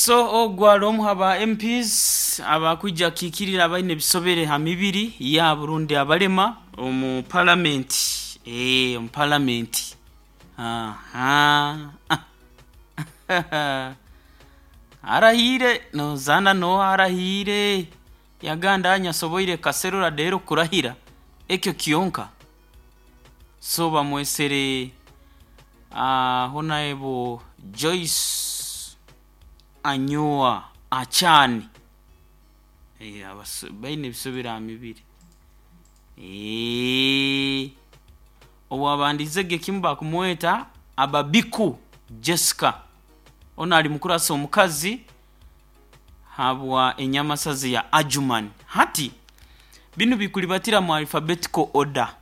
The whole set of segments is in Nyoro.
So ogu ali omu haba MPs abakwija kukikirira abaine ebisobere ha mibiri yaabo rundi abalema omu palamenti, omu palamenti. Arahiire nozaana n'oha arahiire? Yagamba nyasoboire kaserura rero kurahira ekyo kyonka. So bamwesere Honorable Joyce Anyoa Achan. Baine ebisobere ha mibiri. Owaabandizege kimu bakumweta Ababiku Jessica. Onu ali mukurasa omukazi habwa enyamasaza eya Adjumani. Hati binu bikulibatira mu alphabetical order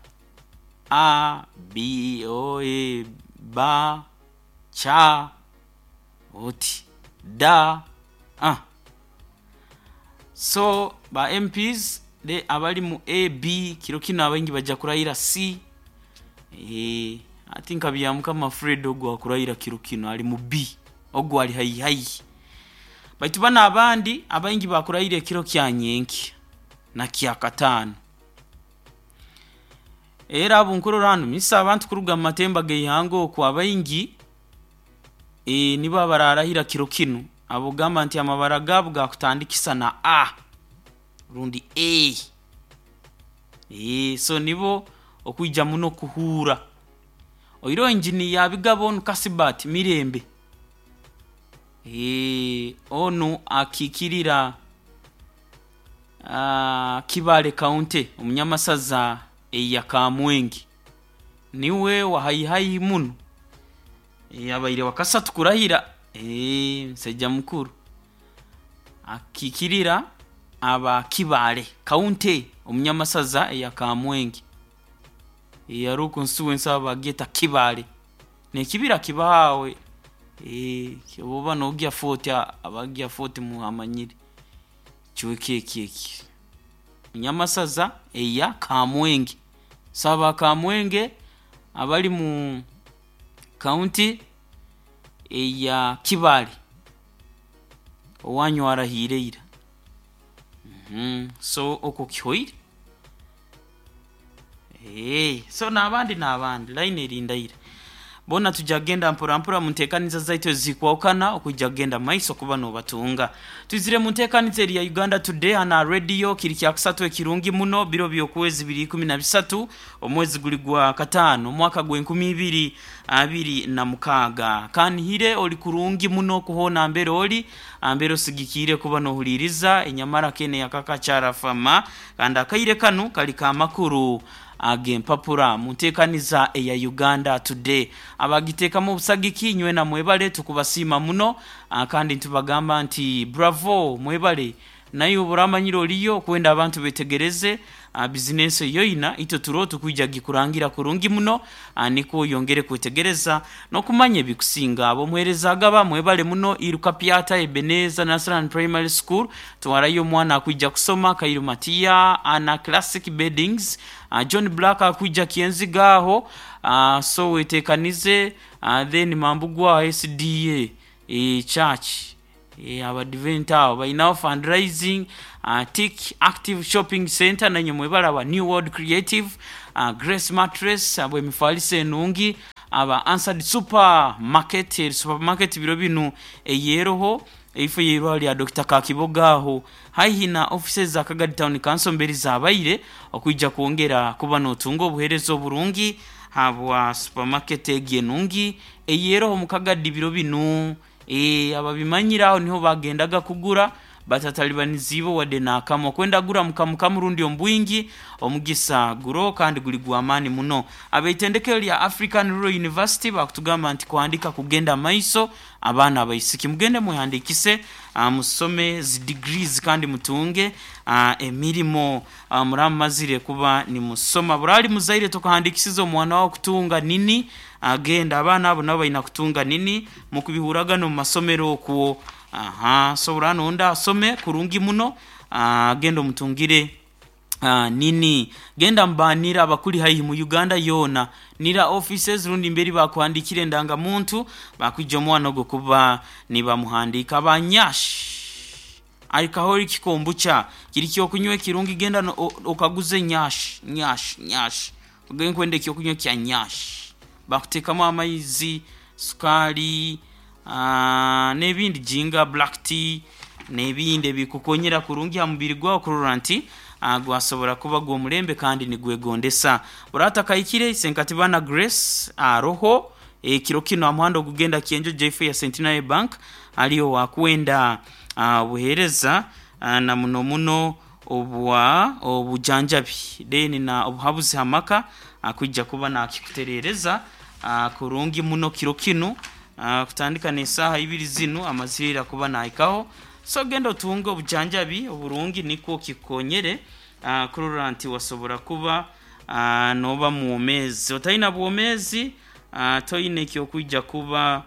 A, B, O, E, B, C, oti D. So ba MPs abali mu A, B kiro kinu abaingi baija kurahira C. Hati nka Byamukama Fred ogu akurahira kiro kinu ali mu B, ogu ali haihi haihi. Baitu banu abandi abaingi bakurahira ekiro kya nyenkya na kyakataano. Era abu nkurora hanu misa abantu kuruga mu matemba g'eihanga okwo abaingi nibo abararahira kiro kinu ab'okugamba nti amabara gaabo gakutandikisa na A rundi A. So nibo okwija muno kuhuura. Oihireho engineer Abigaba onu Kasibati Mirembe, onu akiikirira Kibaale County omu nyamasaza eya Kamwenge. Niwe wa haihi haihi muno, abaire wakasatu kurahira, musaija mukuru. Akiikirira aba Kibaale County omu nyamasaza eya Kamwenge. Haroho constituency aho bagyeta Kibaale, n'ekibira kibaho aho, obu oba nogya Fort, abagya Fort muhamanyire ekicweka eki eki. Nyamasaza eya Kamwenge. So aba Kamwenge abari mu county eya Kibaale, owanyu arahiire ira. So okwo kihoire. So n'abandi n'abandi, line eri ndaire. Boona twija kugenda mpora mpora mu nteekaniza zaitu ezikwahukana okwija kugenda mumaiso kuba noobatunga. Twizire mu nteekaniza eri ya Uganda Today hanu aha radio kiri kyakusatu ekirungi muno biro by'okwezi biri ikumi na bisatu omwezi guri gwa kataano omwaka gw'enkumi ibiri abiri na mukaaga. Kanihire ori kurungi muno ku hoona mbere ori, mbere osigikiire kuba noohuriiriza enyamara kene eya Kakachara Farmer kandi akaire kanu kari ka makuru ag'empapura mu nteekaniza eya Uganda Today. Abagiteekamu obusagiki nywena mwebale tukubasiima muno kandi nitubagamba nti bravo mwebale. Naiwe obu oramanyire oriyo okwenda abantu betegereze bizinensi ei oina, itwe turoho tukwija gikurangira kurungi muno nikwo oyongere kwetegereza n'okumanya ebikusinga. Ab'omuheereza Agaba mwebale muno, Iruka Pyata, Ebenezer Nursery Primary School, twarayo omwana akwija kusoma, Kairu Matia, Anna Classic Beddings, John Black akwija Kyenziga aho, so wetekanize, then Mambugu aho SDA Church. Abadiventi abo bainaho fundraising, Tick Active Shopping Centre nainywe mwebale aba New World Creative, Grace Mattress habw'emifaliso enungi, aba Answered Super Market, eri supermarket biro binu eyeroho eifo y'eirwaro lya Dokita Kakiboga aho haihi na offices za Kagadi Town Council mberi zabaire okwija kwongera kuba notunga obuhereza oburungi habwa supermarket egi enungi eyeroho omu Kagadi biro binu. Ababimanyire aho niho bagendaga kugura batatalibaniziibwe wadde n'akamu. Okwenda gura mu kamu kamu rundi omu bwingi, omugisa guroho kandi guli gw'amaani muno. Ab'eitendekero lya African Rural University baakutugamba nti kuhandiika kugenda maiso, abaana abaisiki mugende mwehandiikise musome zi degrees kandi mutunge emirimo muraba mumazire kuba nimusoma. Buraali muzaire tokahandiikisize omwana waawe kutunga nini, agenda abaana abo nabo baina kutunga nini mukubihuraga n'omu masomero okwo. So buraano onda asome kurungi muno, agende omutungire. Nini genda mubanira abakuli haihi mu Uganda yoona nira offices rundi mberi bakuhandikire endangamuntu bakwija omwana ogwo kuba nibamuhandika. Abanyash alcoholic kombucha kiri kyokunywa ekirungi, genda okaguze nyash nyash nyash, ogende nkwenda ekyokunywa kya nyash, bakutekamu amaizi, sukaali, n'ebindi jinga, black tea n'ebindi ebikukonyera kurungi ha mubiri gwawe kurora nti gwasobora kuba gw'omulembe kandi nigwegondesa. Oratakahikire Senkatibana Grace aroho ekiro kinu aha muhanda ogugenda Kyenjo Jaife ya Centenary Bank aliyo wakwenda obuheereza na muno muno obwa obujanjabi then na obuhabuzi ha maka akwija kuba nakikuterereza kurungi muno kiro kinu kutandika n'esaaha ibiri zinu amazire kuba nahikaho. So genda otunge obujanjabi oburungi nikwo kikukonyere kurora nti wasobora kuba noba mwomeezi. Otaina bwomeezi toine ekyokwija kuba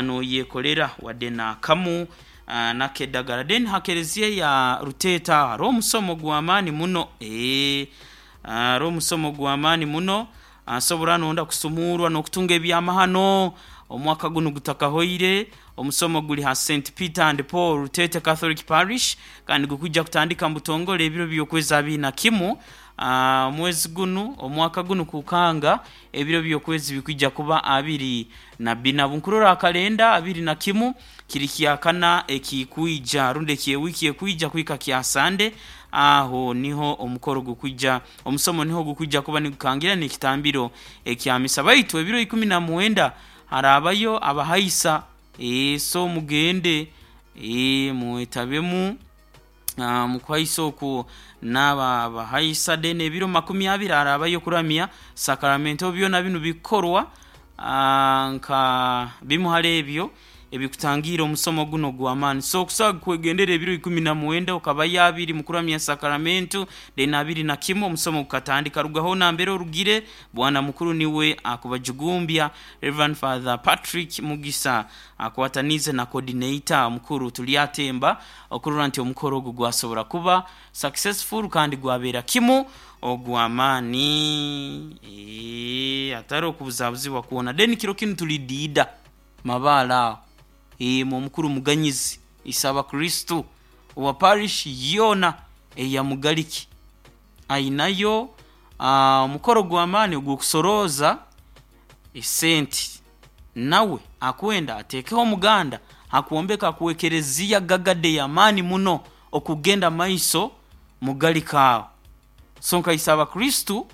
noyekolera wadde nakamu nakedagara. Then ha kereziya ya Ruteeta hariho omusomo gw'amaani muno, hariho omusomo gw'amaani muno, asobora nonda kusumurwa n'okutunga ebyamahano omwaka gunu gutakahoire. Omusomo guli ha St Peter and Paul Ruteete Catholic Parish kandi gukwija kutandika mubutongole ebiro by'okwezi 21 omwezi gunu omwaka gunu kukanga ebiro by'okwezi bikwija kuba 24. Bunkurora akalenda 21 kiri kyakana ekikwija rundi eky'ewiiki ekwija kuhika kya Sande, aho niho omukoro gukwija omusomo niho gukwija kuba nigukangira n'ekitambiro ekya misa. Baitu ebiro 19 harabayo abahaisa, so mugende mwetabemu mukuhaisa okwo n'aba abahaisa. Then ebiro 20 harabayo kuramya sakaramento. Byona binu bikorwa nka bimu hali ebyo ebikutangiira omusomo guno ogw'amaani. So okusobola kwegendera ebiro 19 okabayo 20 mukuramya sakaramento, then 21 omusomo gukatandika. Rugaho nambere orugire, bwana mukuru niwe akubajugumbya Reverend Father Patrick Mugisa akwatanize na coordinator mukuru Tulyatemba okurora nti omukoro ogu gwasobora kuba successful kandi gwabeera kimu ogw'amaani, atari okubuzabuzibwa kwona. Then kiro kinu tuli diida mabaale aho omukuru Muganyizi Isaba Kristu owa parish yoona eya Mugaliki ainayo omukoro gw'amaani ogw'okusorooza esente, nawe akwenda ateekeho omuganda hakwombeka kwekereziya gagade y'amaani muno okugenda maiso Mugalika aho. So nka Isaba Kristu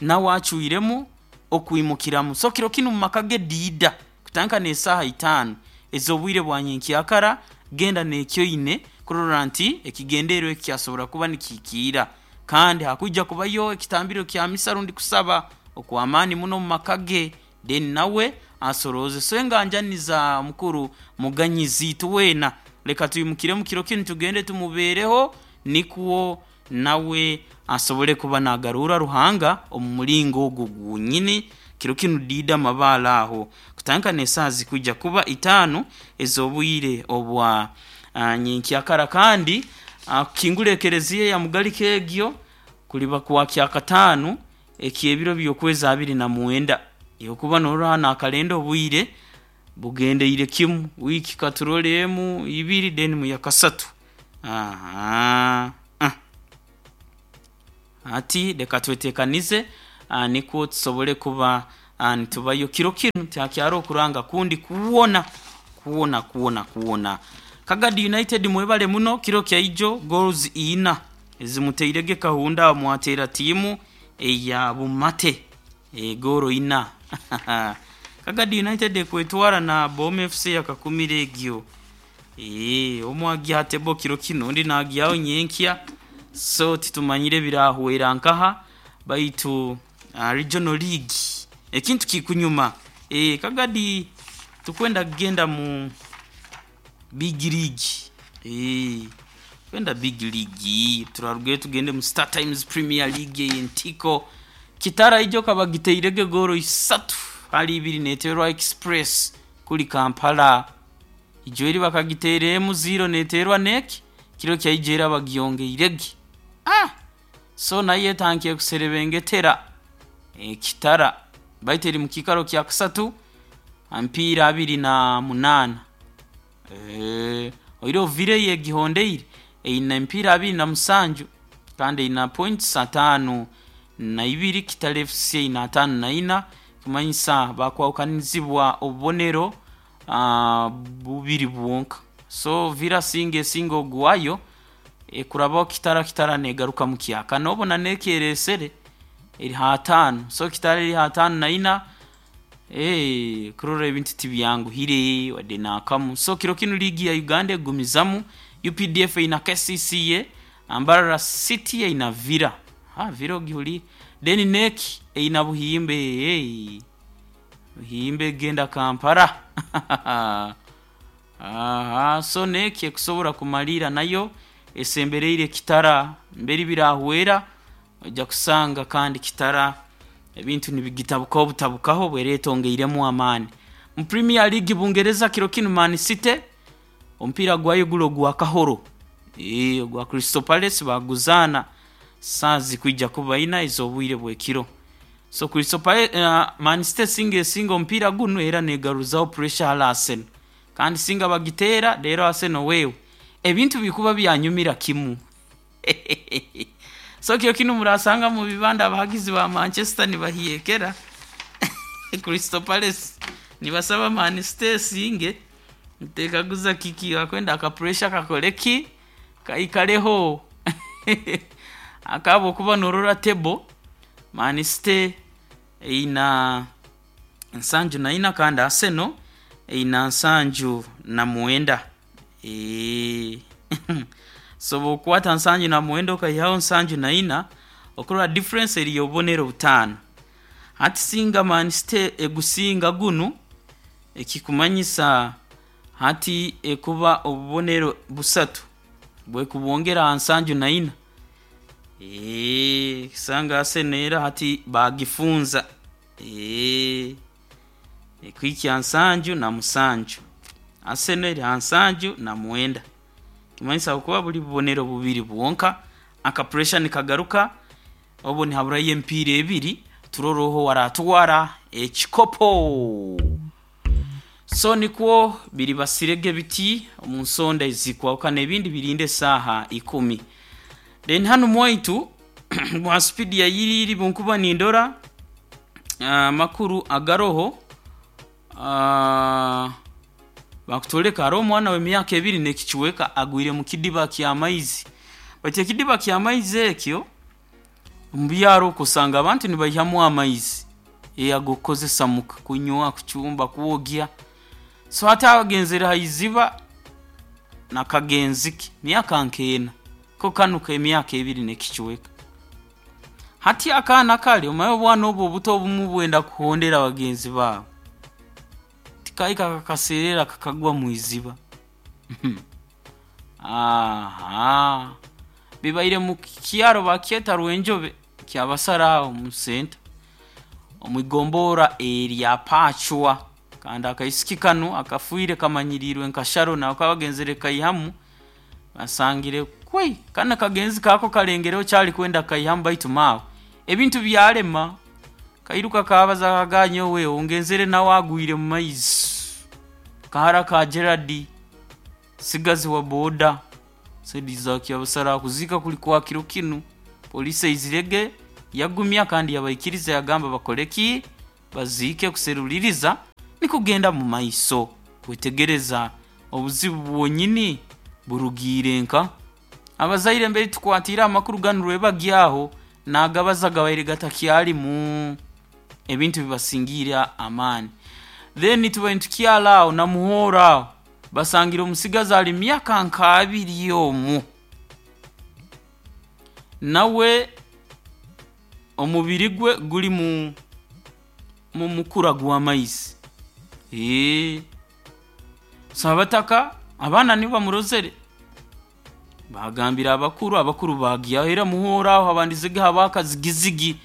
nawe acwiremu okwimukiramu. So kiro kinu mu maka ge diida kutandika n'esaaha 5 ez'obwire bwa nyenkyakara, genda n'ekyoine kurora nti ekigendererwa eki kyasobora kuba nikihikiira. Kandi hakwija kubayo ekitambiro kya misa rundi kusaba okw'amaani muno mu maka ge, then nawe asorooze. So enganjani za mukuru Muganyizi itwena leka twimukiremu kiro kinu tugende tumubeereho nikwo nawe asobole kuba nagaruura Ruhanga omu mulingo ogwo gwonyini. Kiro kinu diida mabaale aho kutandika n'esaaha zikwija kuba 5 ez'obwire obwa nyenkyakara. Kandi kukingura ekereziya ya Mugalika egyo kuliba kwa kyakataano eky'ebiro by'okwezi 29. Okuba norora hanu akalenda obwire bugendeire kimu, wiiki katurole emu ibiri then mu yakasatu. Hati leka twetekanize nikwo tusobole kuba nitubayo kiro kinu tihakyariho okuranga kundi kwona kwona kwona kwona. Kagadi United mwebale muno kiro kyaijo goals ina ezimuteirege Kahunda aho mwateera tiimu eya Bumate goolo ina. Kagadi United ekwetwara na Boom FC yakakumira egyo. Omwe agya tebo kiro kinu ondi nagyaho nyenkya, so titumanyire ebirahwera nkaha baitu regional league ekintu kikunyuma. Kagadi tukwenda kugenda mu big league, kwenda big league turarugayo tugende mu Star Times Premier League ey'entiko. Kitara ijo kabagiteirege goolo 3 hali 2 neeterwa Express kuli Kampala. Ijo eri bakagiteeremu 0 neeterwa neki kiro kyaijo era bagyongeirege. So nayo etandikire kuserebengetera Kitara, baitu eri mu kiikaro kya kasatu ha mipiira 28. Oihireho Villa yo egihondeire eine emipiira 27 kandi eine points 52, Kitara FC eine 54, ekimanyisa bakwahukanizibwa obubonero bubiri bwonka. So Villa singa esinga ogwayo ekurabaho Kitara, Kitara negaruka mu kyakana obona nekeresere eri ha ataano. So Kitara eri ha 54, kurora ebintu tibyanguhire wadde n'akamu. So kiro kinu liigi ya Uganda egumizamu, UPDF eine KCCA, Mbarara City eine Villa. Villa ogihuliire. Then NEC eine Buhimbe. Buhimbe egenda Kampala. Aha, so NEC ekusobora kumalira nayo esembereire Kitara mbere birahwera ojja kusanga kandi Kitara ebintu nibigitabukaho butabukaho bwera etongeiremu amaani. Mu Premier League Bungereza kiro kinu Man City omupiira gwayo guli ogwa Kahoro, ogwa Crystal Palace baguzaana saaha zikwija kuba ina ez'obwire bw'ekiro. So Crystal Palace, Man City singa esinga omupiira gunu era negaruzaho pressure hali Arsenal, kandi singa bagiteera rero Arsenal wewe ebintu bikuba byanyumira kimu. So kiro kinu murasanga mu bibanda abahagizi ba Manchester nibahyekera Crystal Palace nibasaba Man City esinge, ntekaguza kiki bakwenda aka pressure kakole ki kaikareho. Akaba okuba norora table, Man City eina 74 kandi Arsenal eina 79. So bwokwata 79 okaihaho 74, okurora difference eri y'obubonero butaano. Hati singa Man City egusinga gunu, ekikumanyisa hati ekuba obubonero busatu bwekubwongera ha 74. Kusanga Arsenal era hati bagifunza. Ekuhikya 77. Arsenal eri ha 79. Kimanyisa bukuba buli bubonero bubiri bwonka, aka pressure nikagaruka, obwo nihaburayo emipiira ebiri turore oho waratwara ekikopo. So nikwo biri basirege biti omu nsonda ezikwahukana, ebindi birinde esaaha 10. Then hanu mwaitu mwa spidi ya yiriri bunkuba nindora amakuru agaroho, bakutwoleka hariho omwana w'emyaka 2 n'ekicweka agwire mu kidiba ky'amaizi. Baitu ekidiba ky'amaizi ekyo omu byaro okwo osanga abantu nibaihamu amaizi ag'okukozesa muka, kunywa, kucumba, kwogya. So hati agenzere ha iziba na kagenzi ke myaka nk'ena, ko kanu k'emyaka 2 n'ekicweka. Hati akaana kare omanye obwana obu obuto obumu bwenda kuhondera bagenzi baabo, tikahika kakaseerera kakagwa mu iziba. Aha, bibaire mu kyaro bakyeta Rwenjobe kyabasara aho mu senta omu igombora erya Pachwa, kandi akaisiki kanu akafiire kamanyirirwe nka Sharon, ako kabagenzere kaihamu basangire kwei kana kagenzi kako kalengereho kyali kwenda kaihamu, baitu mawe ebintu byalema kairuka kabaza kaganya owe ongenzere nawe agwire mu maizi. Kahara ka Gerard sigazi wa boda sedi za kyabasara kuzika kuli kwa kiro kinu, polisi eizirege yagumya kandi yabaikiriza yagamba bakoleki baziike kuseruliriza nikugenda mu maiso kwetegereza obuzibu bwonyini burugiire nka abazaire mbere tukwatire amakuru ganu rwebagyaho nagabaza gabaire gatakyalimu ebintu bibasingiira amaani. Then tubaire nitukyala aho namuhoora aho basangira omusigazi ali myaka nka abiri omwo, nawe omubiri gwe guri mu mukura gw'amaizi. So abataka abaana nibo bamurozere bagambira abakuru, abakuru bagyaho era muhoora aho habandizege haba akazigizigi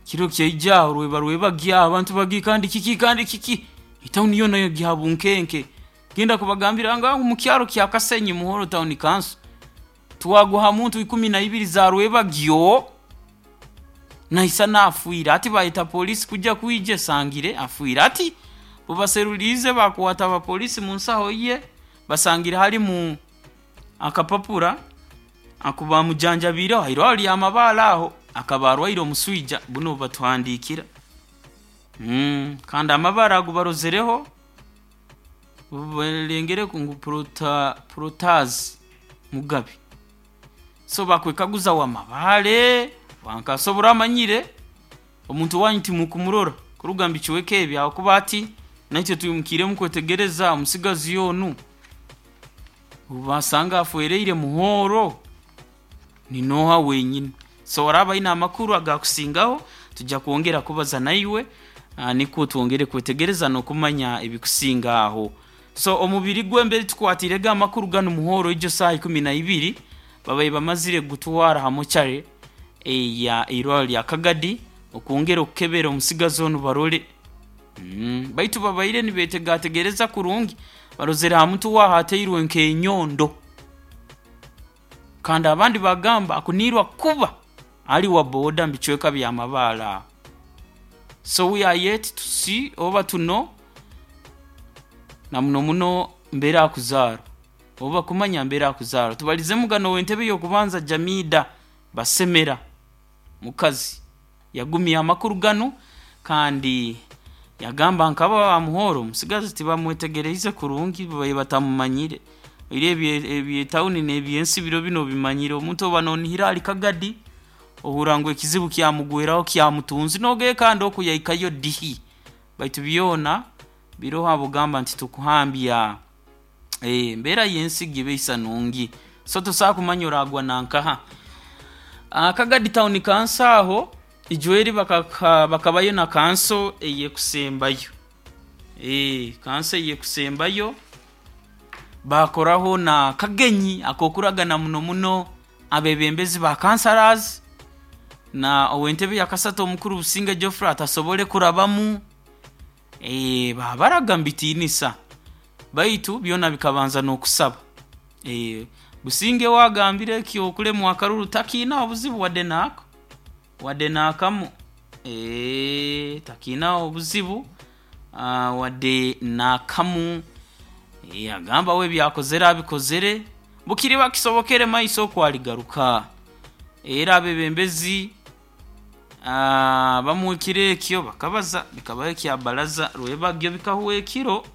kiro kyaija aho rweba rwebagyaho abantu bagi kandi kiki kandi kiki etawuni yoona yagya bunkenke. Genda kubagambira nga mu kyaro kya Kasenyi Muhoro Town Council. Twagwa ha muntu 12 za rwebagyo naisa afiire. Ati bayeta polisi kujja kwija esangire afiire. Ati bubaseruliize bakwata abapolisi mu nsaho ye basangire halimu akapapura aku bamujanjabiireho hairwaho lyamabaale aho akaba arwaire omuswija bunu batuhandiikira. Kandi amabara ago barozereho balengere ngu Protazi Mugabe. So bakwekaguza wamabaale wankasobora amanyire omuntu wanyu timukumurora kuruga mubicweka ebi ahakuba ati naitwe twimukiremu kwetegereza omusigazi onu basanga afwereire muhooro ni nooha wenyini. So oraaba aine amakuru agakusingaho tujja kwongera kubaza naiwe, nikwo twongere kwetegereza n'okumanya ebikusinga aho. So omubiri gwe mbere tukwatirege amakuru ganu muhooro ijo saaha 12 babaire bamazire kugutwara ha mochare eya irwariro lya Kagadi okwongera okukebera omusigazi onu barole. Baitu babaire nibetegategereza kurungi barozere ha muntu waaho ateirwe nk'enyondo. Kandi abandi bagamba akuniirwa kuba ali wa boda mubicweka bya Mabaale aho. So we are yet to see oba to know na muno muno mbere akuzaarwa oba kumanya mbere akuzaarwa. Tubalizemu gano ow'entebe y'okubanza Jamida Basemera mukazi yagumya amakuru ganu kandi yagamba nkaba bamuhooro omusigazi tibamwetegereize kurungi babaire batamumanyire. Oire ebyetawuni n'ebyensi biro binu obimanyire omuntu oba noonihira ali Kagadi ohurra ngu ekizibu kyamugweraho kyamutunzi noogenda kandi oku yaikayo dihi. Baitu byona biroho abogamba nti tukuhambya embeera y'ensi gibeisa nungi. So tosobola kumanya oragwa nankaha. Kagadi Town Council aho ijweri bakabayo na kanso eyekusembayo. Kanso eyekusembayo bakoraho na kagenyi ak'okuragana muno muno abebembezi ba councillors na ow'entebe ya kasatu omukuru Businge Geoffrey atasobole kurabamu, babaraga mubitiinisa baitu byona bikabanza n'okusaba. Businge we agambire ekyokulemwa akaruru takiinaho buzibu wadde naako wadde naakamu, takiinaho obuzibu wadde naakamu. Agamba we ebyakozere abikozere bukiriba kisobokere mumaiso oku aligaruka. Era abebembezi bamwe ekiro ekyo bakabaza bikabaho ekya baraza rwebagyo bikahwa ekiro,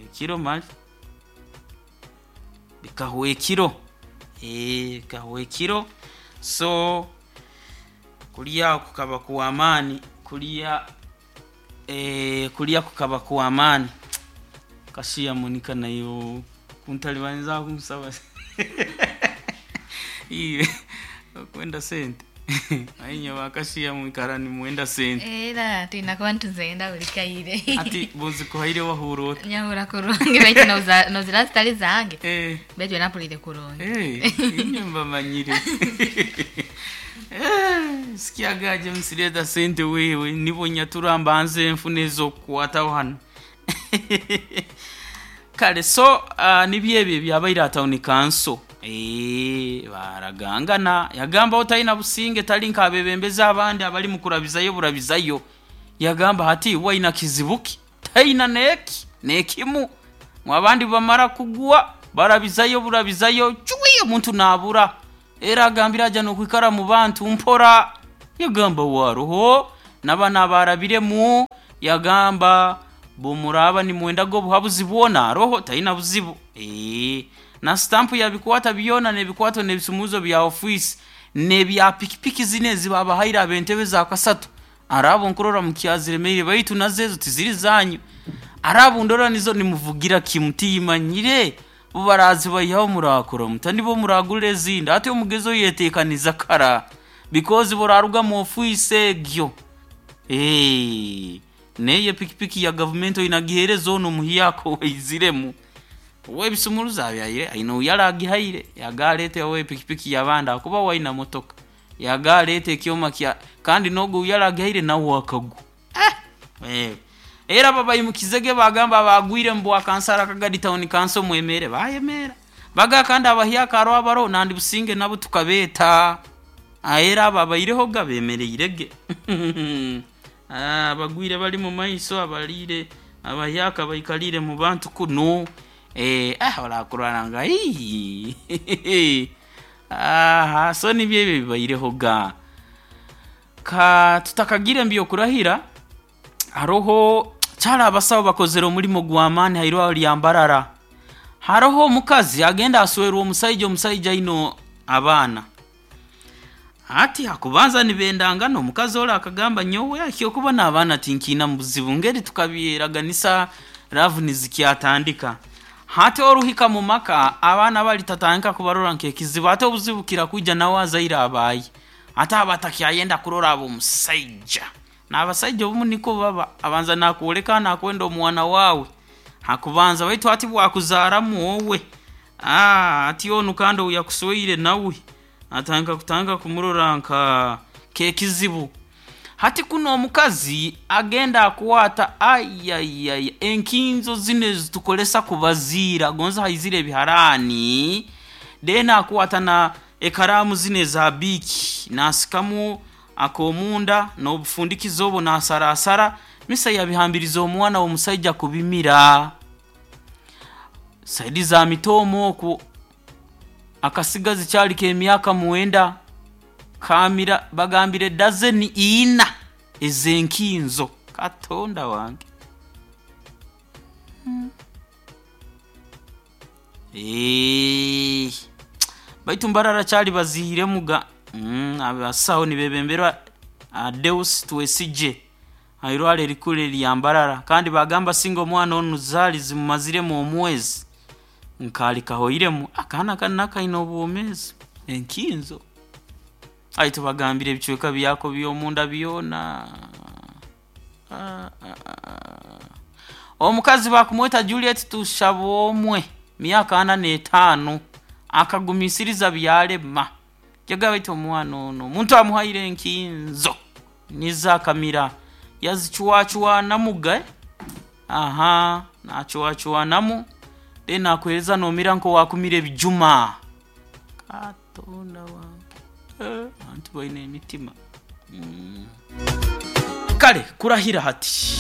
ekiro mali bikahwa ekiro, bikahwa ekiro. So kuriya kukaba kw'amaani kuriya, kuriya kukaba kw'amaani. Kashiya Monica naiwe kuntalibaniza kunsaba iwe okwenda sente ainye bakashiya mwikara nimwenda sente. Era twina kuba nituzenda buli kaire. Ati buzikuhaire wahurra ota? Nyahurra kurungi baitu nozira zitali zange. Baitu era mpulire kurungi. Inywe mbamanyire. Sikiaga James leta sente wewe nibo nyatura mbanze nfune ez'okukwataho hanu. Kale so nibyo ebyo ebyabaire aha Town Council. Baragangana yagamba otaina businge tali nk'abebembezi abandi abali mukurabizayo burabizayo. Yagamba hati we aina kizibu ki? Taina n'eki n'ekimu. Abandi bamara kugwa barabizayo burabizayo cwi omuntu naabura. Era agambire aja n'okwikara mu bantu mpora. Yagamba waroho n'abana abarabiremu yagamba bumuraba nimwendaga obuhabuzi bwona aroho taina buzibu. Na stampu yabikwata byona n'ebikwato n'ebisumuuzo bya ofiisi n'ebya pikipiki zinu ezi babahaire ab'entebe za kasatu. Araba nkurora mukyaziremeire baitu nazo ezo tiziri zanyu. Araba ndora nizo nimuvugira kimu tiyimanyire bo barazibaihaho murakora muta nibo muragura ezindi. Ati omugezo yeteekaniza kara because buraruga mu ofiisi egyo. N'eyo pikipiki ya gavumenti oinagiheereza onu omuhyaka owaiziremu. We ebisumuruzo abyaire aine ou yaragihaire yaga aleete we pikipiki y'abandi ahakuba we aina motoka. Yaga aleete ekyoma kya kandi n'ogu ou yaragihaire nawe akagwa. Era babaimukizege bagamba bagwire mu bwakansara Kagadi Town Council mwemere bayemeera. Baga kandi abahyaka hariho abaroho nandi businge nabo tukabeeta era abo abaireho ga bemereirege. Abagwire bali mu maiso, abaliire abahyaka baikalire mu bantu kunu. Orakurora nga aha, so nibyo ebyo bibaireho ga. Ka tutakagire mu by'okurahira, haroho kyali abasaho bakozere omulimo gw'amaani hairwarro lya Mbarara. Haroho omukazi agenda aswerwa omusaija, omusaija aine abaana. Hati hakubanza nibendangana, omukazi ori akagamba nyowe ekyokuba n'abaana tinkiinamu buzibu, ngeri tukabyeraganisa love nizikyatandika. Hati oruhika mu maka, abaana bali tatandika kubarora nk'ekizibu, ate obuzibu bukira kwija nawe azaire abaaye. Ate aba atakyayenda kurora ab'omusaija. N'abasaija obumu nikwo baba, abanza naakwoleka naakwenda omwana waawe hakubanza, baitu hati bwakuzaaramu owe, hati onu kandi ou yakusweire nawe atandika kutandika kumurora nka nk'ekizibu. Hati kunu omukazi agenda akwata ayayaya enkinzo zinu ezitukozesa kubaziira, gonza haizire ebiharaani, then akwata na ekaraamu zinu eza biiki naasikamu ak'omunda n'obufundikizo obu naasaraasara, misa yabihambiriza omwana w'omusaija kubimira. Saidi za Mitooma okwo, akasigazi kyali k'emyaka 9 kaamira bagambire dazeni ina ez'enkinzo. Katonda wange! Baitu Mbarara kyali baziiremu ga abasaho nibebemberwa Deus Twesigye hairwarro erikuru erya Mbarara, kandi bagamba singa omwana onu zaali zimumaziremu omwezi nkaali kahoiremu. Akaana kanu nako kaine obwomeezi, enkinzo. Ai tubagambire ebicweka byako by'omunda byona. Omukazi bakumweta Juliet Tushabomwe, myaka 45, akagumisiriza byalema. Yagamba baitu omwana ono omuntu amuhaire enkinzo nizo akamira yazicwacwanamu ga, aha, naacwacwanamu then naakuheereza noomira nk'owaakumira ebijuma. Katonda wange! Abantu baine emitima. Kale kurahira hati.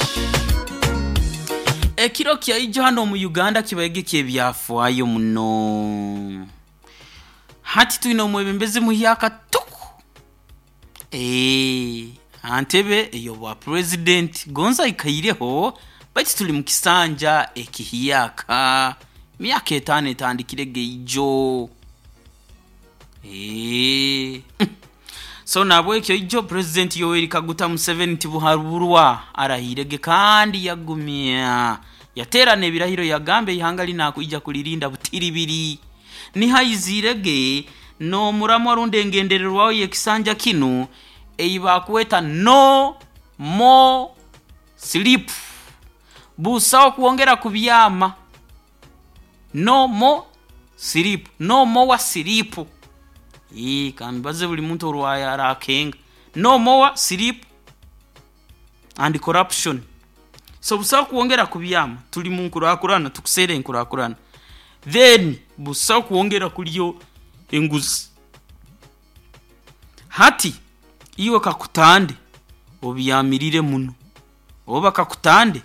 Ekiro kyaijo hanu omu Uganda kibaire ky'ebyafaayo muno. Hati twine omwebembezi muhyaka tuku aha ntebe ey'obwa purezidenti gonza aikaireho baitu tuli mu kisanja ekihyaka. Myaka etaano etandikirege ijo. So nahabwekyo ijo Purezidenti Yoweri Kaguta Museveni Tibuhaburwa arahiirege kandi yagumya yateerana ebirahiro yagamba eihanga linu akwija kuririnda butiribiri. Niho aiziirege n'omuramwa rundi engendererwaho y'ekisanja kinu ei bakweta No More Sleep, busaho kwongera kubyama. No more sleep, no more sleep. Kambibaze buri muntu orwaye arakenga. No more sleep and corruption. So busaho kwongera kubyama, turi mu nkurakurana, tukuseera enkurakurana. Then busaho kwongera kurya enguzi. Hati iwe kakutande obyamirire muno, oba kakutande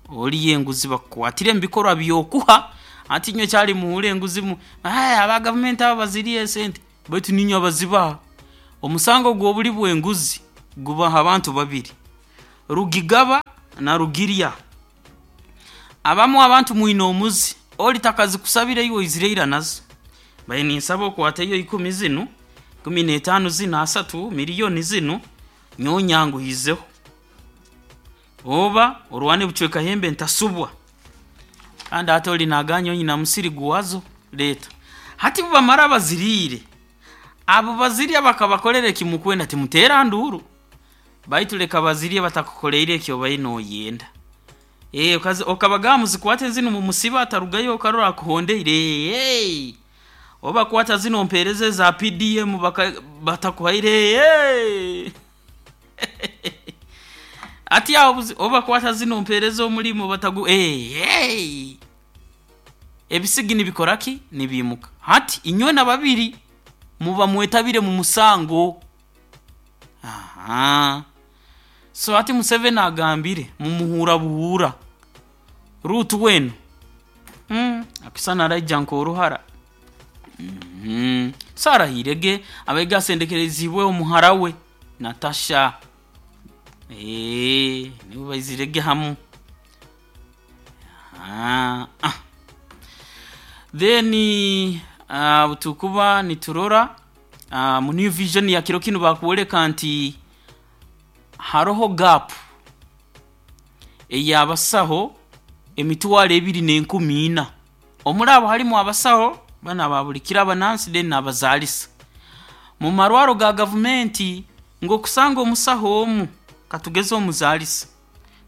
orya enguzi bakukwatire omu bikorwa by'okuha. Hati inywe kyali muhuura enguzi aba gavumenti abo baziriire esente, baitu niinywe abazibaha. Omusango gw'obuli bw'enguzi gubaho abantu babiri, rugigaba na rugirya. Abamu abantu mwine omuzi, ori takazikusabire iwe oizire ira nazo. Mbaire ninsaba okwateyo ikumi zinu, 15 zinu, asatu, miliyoni zinu, nyowe nyanguhizeho. Oba orwane bucweka hembe ntasubwa. Kandi hati ori naagamba nyowe nyina musiri gwazo, leeta. Hati bubamara baziriire, abo bazirya bakabakorera eki mukwenda timuteera nduuru. Baitu leka bazirye batakukoleire eki obaire nooyenda. Okabagamba muzikwate zinu mumusibe atarugayo okarora akuhondeire. Oba kwata zinu ompeereze eza PDM batakuhaire. Hati aho oba kwata zinu ompeereze omurimo batagu. Ebisigi nibikora ki? Nibiimuka. Hati inywena babiri muba mwetabire mu musango. Aha. So hati Museveni agambire mumuhuura buhuura. Ruth wenu akisana araija nk'oruhara. So arahirege abaige asendekerezibwe omuhara we Natasha. Nibo baizirege hamu. Then tukuba niturora mu New Vision ya kiro kinu bakwoleka nti haroho gap ey'abasaho 24,000. Omuri abo harimu abasaho banu ababulikira abanansi then n'abazaalisa. Mu marwaro ga gavumenti ng'okusanga omusaho omu katugeze omuzaalisa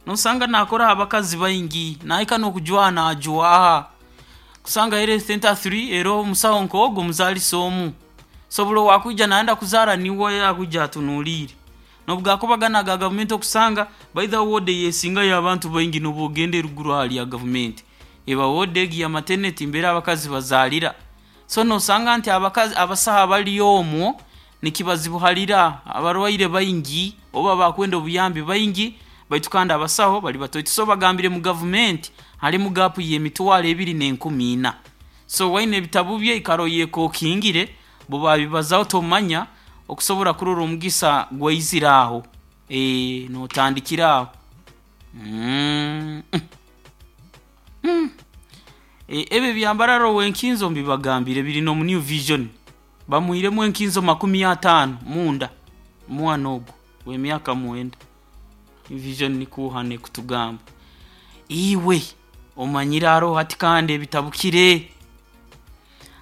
nosanga nakoraho abakazi baingi nahika n'okujwaha najwaha. Kusanga health center 3 eroho omusaho nk'ogu omuzaalisa omu. So buli owakwija nayenda kuzaara niwe akwija atunuliire. N'obu gana aga gavumenti okusanga by the ward eyesingayo abantu baingi n'obu ogenda eruguru hali ya gavumenti. Eba ward egi ya maternity mbere abakazi bazaalira. So nosanga nti abakazi abasaho abali omwo nikibazibuharira abarwaire baingi oba bakwenda obuyambi baingi baitu kandi abasaho bali batoito. So bagambire mu gavumenti harimu gap y'24,000. So waine ebitabu bye ikara oyekokingire bo babibazaho tomanya okusobora kurora omugisa gwaizire aho. Notandikira aho. Ebyo byambarara ow'enkinzo mbibagambire biri n'omu New Vision. Bamuhiremu enkinzo 50 munda omwana ogu w'emyaka 9. New Vision nikuhane kutugamba. Iwe omanyire aroho hati kandi ebitabukire.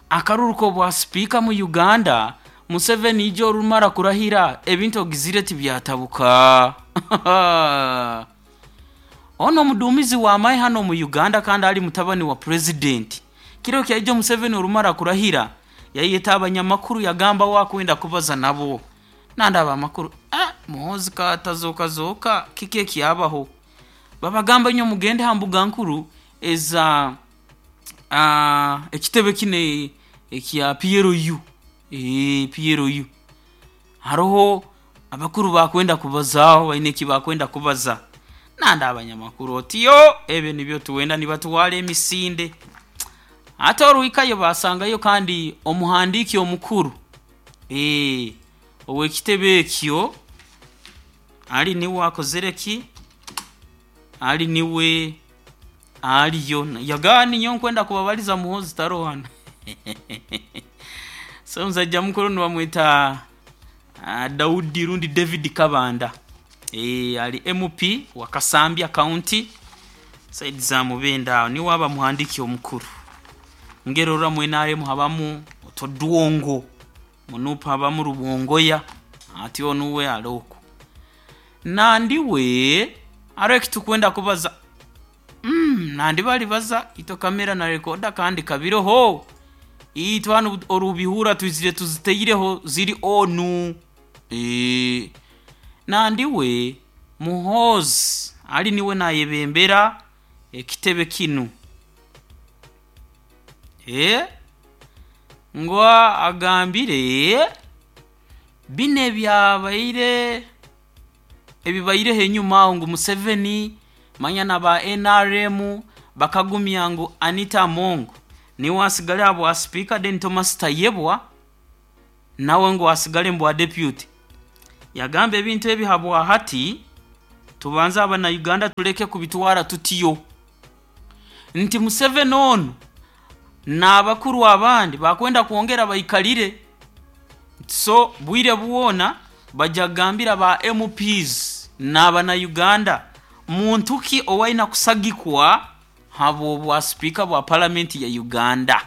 Akaruru k'obwa sipiika mu Uganda Museveni ijo orumara kurahira ebintu ogizire tibyatabuka. Ono omuduumizi w'amahe hano mu Uganda kandi ali mutabani wa president. Kiro kyaijo Museveni orumara kurahira yayeta abanyamakuru yagamba wakwenda kubaza nabo. Nandaba amakuru Muhoozi katazoka zoka kiki ekyabaho. Babagamba nyo mugende ha mbuga nkuru eza ekitebe kine ekya PLU. PLU. Haroho abakuru bakwenda kubazaho baine eki bakwenda kubaza. Nanda abanyamakuru otiyo ebyo nibyo tuwenda nibatwara emisinde. Ate oruhikayo basangayo kandi omuhandiiki omukuru ow'ekitebe ekyo ali niwe akozere ki? Ali niwe aliyo yagani nyo nkwenda kubabaliza Muhoozi tarohana. So omusajja mukuru nibamwita Daudi rundi David Kabanda. Ali MP wa Kasambya County side za Mubende aho niwe aba muhandiki omukuru. Ngero rura mu NRM habamu Otodwongo munupa habamu Rubongoya ati onuwe aloko. Nandiwe aro ekitukwenda kubaza. Nandi bali baza ito kamera na rekoda kandi kabiroho. Itwe hano orubihura twizire tuziteireho ziri onu. Nandiwe Muhoozi ali niwe nayebembera ekitebe kinu. Ngo agambire bine byabaire ebibaireho enyuma aho ngu Museveni manya na ba NRM bakagumya ngu Anita Among niwe asigale abwa speaker then Thomas Tayebwa nawe ngu asigale mbwa deputy. Yagamba ebintu ebi habwa hati tubanze abana Uganda tuleke kubitwara tutiyo. Nti Museveni ono n'abakuru abandi bakwenda kwongera baikalire. So bwire bwona bajagambira ba MPs n'abana Uganda muntu ki owaina kusagikwa habo bwa speaker bwa parliament ya Uganda.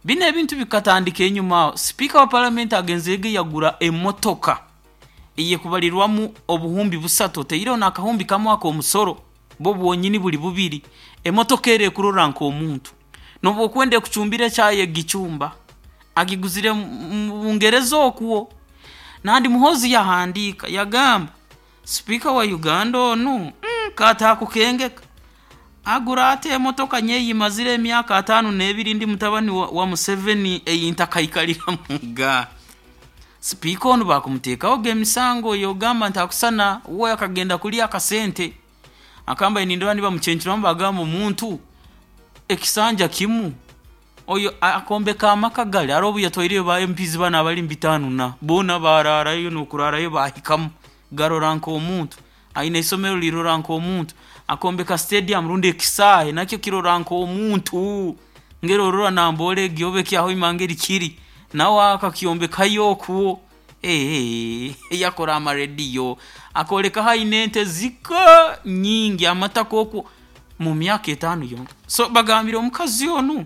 Bino ebintu bikatandika enyuma. Speaker wa parliament agenzege yagura emotoka iye kubalirwamu obuhumbi 3 teireho n'akahumbi kamwe ak'omusoro bo bwonyini buli bubiri. Emotoka ere kurora nk'omuntu nobu okwenda kucumbira ekyaye gichumba agiguzire mu Bungereza okwo. Nandi Muhoozi yahandika yagamba speaker wa Uganda onu katakukengeka. Agura ate emotoka nyeyimazire emyaka 52 ndi mutabani wa Museveni eyintakaikaliramuga. Sipiika onu bakumuteekaho g'emisango yogamba nti akusana we akagenda kulya akasente. Akamba nindora nibamucencuramu bagamba omuntu ekisanja kimu oyo akombeka amaka gali hariho obu yatwaireyo ba MPs bana abali mu 5 na boona bararayo n'okurarayo bahikamu garora nk'omuntu aine isomero lirora nk'omuntu akombeka stadium rundi ekisaahe nakyo kirora nk'omuntu ngeri orora nambora egyobe kyaho imangeri kiri nawe akakyombekayo okwo yakora amarediyo akoleka haine ente zika nyingi amataka okwo mu myaka 5 yonka. So bagambire omukazi onu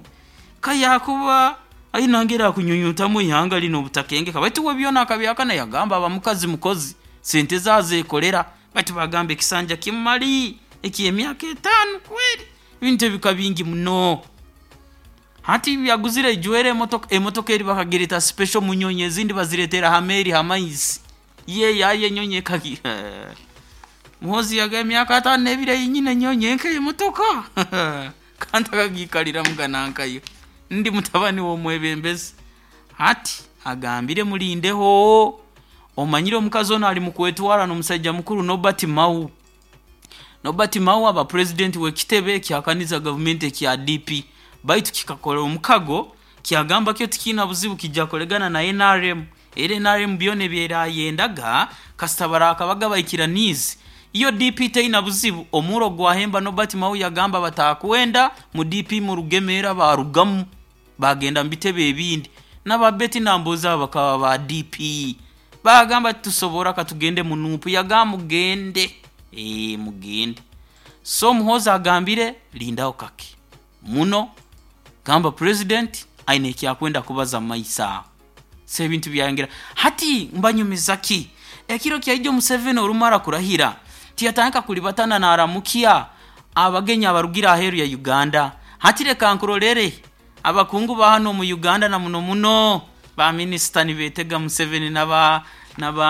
kayakuba aina ngera kunyunyutamu ihanga lino obutakenge baitu we byona akabyakana yagamba abamukazi mukozi sente zazekolera baitu bagamba ekisanja kimali eky'emyaka 5 kweli ebintu ebika bingi muno. Hati byaguzire ejwere emotoka eri bakagireta special munyonyi ezindi baziretera hameri hamaizi ye yaye nyonyi kagi Muhozi yaga emyaka 5 n'ebiri yinyine nyonyi enke emotoka kandi akagikalira muganankayo ndi mutabani w'omwebembezi. Hati agambire mulindeho omanyire omukazi ono ali mukwetwara n'omusajja mukuru Norbert Mao. Norbert Mao aba president w'ekitebe ekyakaniza gavumenti ekya DP baitu kikakola omukago kyagamba kyo tikina buzibu kijja kulegana na NRM. Era NRM byona ebyerayendaga kasita barakabaga baikiranizi iyo DP teina buzibu. Omuro gwahemba Norbert Mao yagamba batakwenda mu DP mu rugemera barugamu bagenda mu bitebe ebindi n'ababeti namboza bakaba ba DP bagamba tusobora katugende mu nupu yagamba mugende mugende. So Muhoza agambire lindaho kake muno gamba president aine ekyakwenda kubaza maisa se ebintu byayongera. Hati mbanyumiza ki ekiro kyaijo Museveni orumara kurahira tiyatandika kulibatana naramukia abagenyi abarugira aheru ya Uganda. Hati reka nkurorere abakungu ba hano mu Uganda na muno muno ba minister nibetega Museveni naba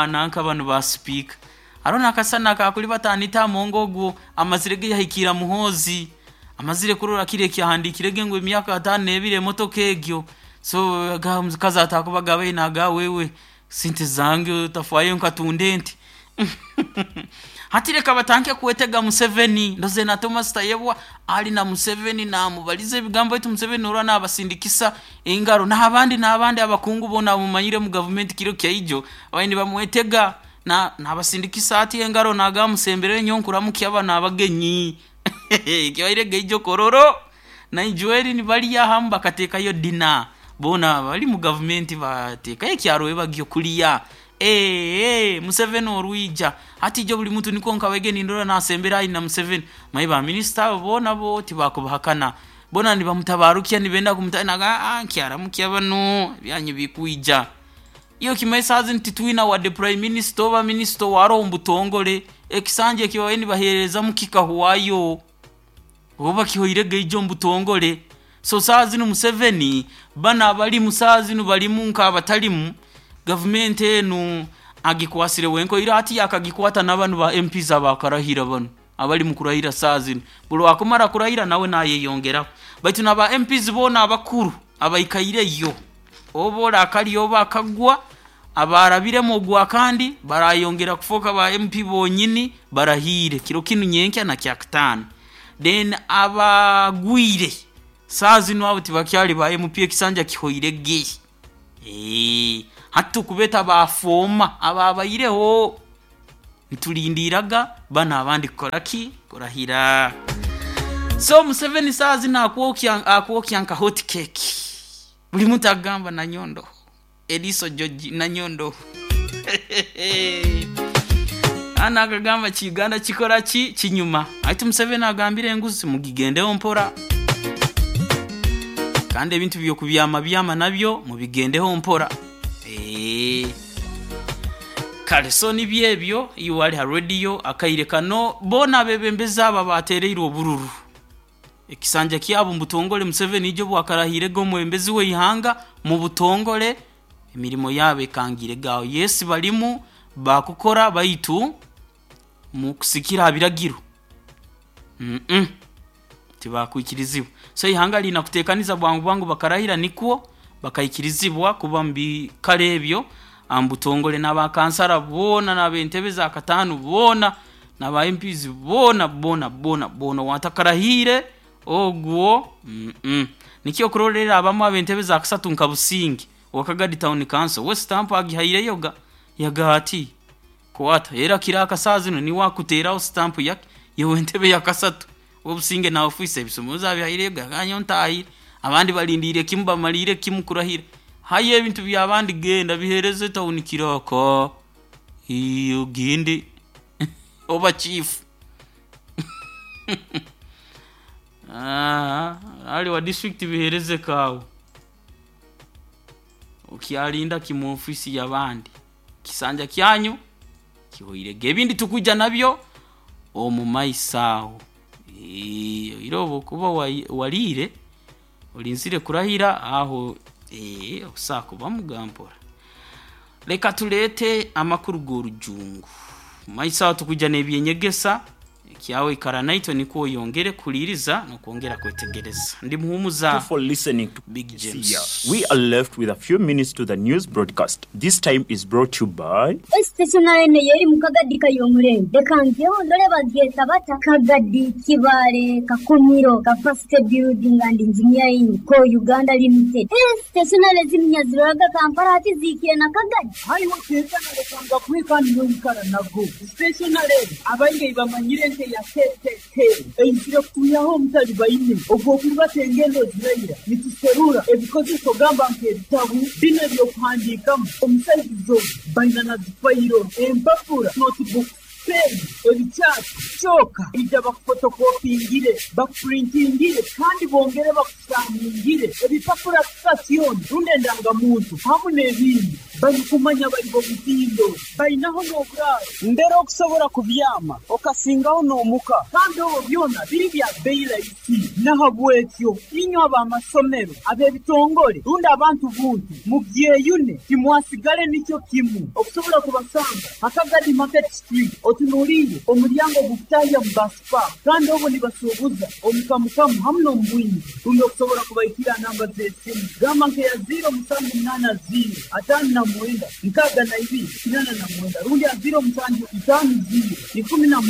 nanka bano ba speaker arona akasana kakulibatanita mongo ogwo amazire ge yahikira Muhozi amazire kurora kire kyahandikire ngo emyaka 5 n'ebiri emotoka egyo. So kaza atakubaga we naga wewe sente zange tafwayo nkatunde nti hati reka batanke kuwetega Museveni ndoze na Thomas Tayebwa ali na Museveni namubalize ebigambo etu Museveni ora nabasindikisa engaro n'abandi abakungu bona mumanyire mu government kiro kyaijo abayindi bamwetega na nabasindikisa ati engaro naga musembere nyonkuramukia abana abagenyi kibaire geijo kororo na ijueri ni bali yahamu bakatekayo dina bona bali mu government batekayo ekyaro ebagyo kuliya. Museveni orwija hati jo buli muntu niko nkawege nindora nasembera ina Museveni mai ba minister bona bo tibakubahakana bona nibamutabarukia nibenda kumutanaga nkyaramukia bano byanyu bikuija iyo kimesazi nti twina wa the prime minister oba minister waro mbutongole ekisanje kibawe nibahereza mukikahuwayo oba kihoire geijo mbutongole. So sazi no Museveni bana bali musazi no balimu nkabatalimu government enu agikwasire wenko ira ati akagikwata n'abantu ba MPs abakarahira bano abali mu kurahira sazi buli akumara kurahira nawe nayeyongera baitu naba MPs bona abakuru abaikaireyo obola akali oba akagwa abarabiremo ogwa kandi barayongera kufoka ba MP bonyini barahire kiro kinu nyenkya na kyakutano. Then abagwire sazi no abo tibakyali ba MP ekisanja kihoire ge hatu kubeta bafoma ababayireho ntulindiraga bana abandi kukola ki kurahira. So Museveni sazi na akuokya nka hot cake buli muntu agamba na nyondo Eliso George na nyondo ana akagamba ki Uganda kikora ki kinyuma. Ati Museveni agambire enguzi mugigendeho mpora kandi ebintu byokubyama byama nabyo mubigendeho mpora. Kale so nibyebyo iyo wali ha radio akaire kano bona bebembeza aba batereirwe obururu ekisanja kyabo mbutongole Museveni ijo bwakarahire go mwembezi we ihanga mu butongole emirimo yabe kangire gawo. Yes balimu bakukora baitu mu kusikira abiragiro. Tibakwikirizibwa. So ihanga lina kutekaniza bwangu bwangu bakarahira, nikwo bakaikirizibwa kuba mu bikaro ebyo ambutongole, n'abakansara boona, n'abentebe za katano boona, n'aba MPs boona boona boona boona. Watakarahiire ogwo Nikyo okurorera abamu ab'entebe za kasatu nka Busingi Wakagadi Town Council, we stamp agihaireyo ga yagati kwata, era kira akasaa zino niwe akuteraho stamp yake yewe entebe ya kasatu. Obusinge na ofisi ebisumuza abihaireyo gaganyo ntahire, abandi balindiire kimu, bamalire kimu kurahira. Haya, ebintu by'abandi genda bihereze town kiroko iyo gindi oba chief. Ali wa district bihereze kawe, ukyalinda kimu ofisi y'abandi, kisanja kyanyu kihoirege. Ebindi tukuja nabyo omu maiso aho. Irobo kuba waliire olinzire kurahira aho, osakuba mugampora. Leka tulete amakuru g'orujungu maiso aho, tukuja n'ebyenyegesa kyawe. Ikara naitwe nikwo oyongere kuhuliriza n'okwongera kwetegereza. Ndi Muhumuza for listening to Big James. Yeah. We are left with a few minutes to the news broadcast. This time is brought to you by Stationary yeri mu Kagadi kayomurembe, reka ngeho ndore bageta bata Kagadi Kibale Kakumiro Capacity Building and Engineering Co Uganda Limited. Stationary ziminya ziroraga Kampala hati zikire na Kagadi. Hariho teekana kandi n'oikara nago stationary abaingi bamanyire nke ya KKK eizire kutuyaho omutali baine ogw'okurubata engendo ziraira nituserura ebikozeso gamba nk'ebitabu bino ebyokuhandiikamu omusaizizo baina na zifayiro, empapura, notebooks, pen, ebikyasi kyoka ija bakufotokopingire, bakupurintingire kandi bongere bakusaningire ebipapura sitasioni rundi endangamuntu hamu n'ebindi. Barikumanya bari bomutindo bainaho n'oburaaro mbere okusobora kubyama okasingaho n'omuka, kandi obwo byona biri bya bei rahisi. Nahabwekyo inywe ab'amasomero, ab'ebitongole rundi abantu buntu mubyeyune, timwasigale nikyo kimu. Okusobola kubasanga Hakagadi Market Street, otunuliire omulyango gukutahya mu basipa, kandi obwo nibasuubuza omukamukamu hamu n'omubwingi. Rundi okusobola kubaikira namba z'esimu gamba nkeya 0780 59 62 89 rundi ya 0750 19.